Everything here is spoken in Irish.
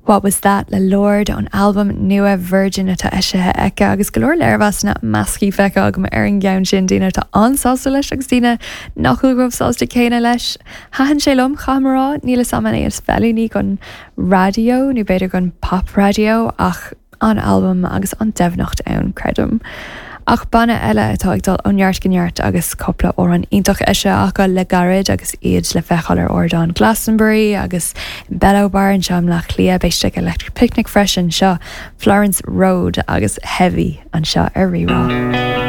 What Was That le Lorde ón albam nua Virgin atá eisithe aici agus go leor léirmheasanna measctha feicthe agam ar an gceann sin, daoine atá an-sásta leis agus daoine nach bhfuil chomh sásta céanna leis. Thaitin sé liom, caithfidh mé a rá, níl 'fhios a'm an é is feiliúnaí don raidió nó b'fhéidir don pop raidió ach an-albam agus an-doimhneacht ann, creidim. Ach banna eile atá ag dul ó neart go neart agus cúpla amhrán iontach eisithe acu le gairid agus iad le feiceáil ar ardán Glastonbury agus in Bello Bar anseo i mBleá Cliath, beidh siad ag Electric Picnic freisin, seo Florence Road agus Heavy anseo ar Rí-Rá.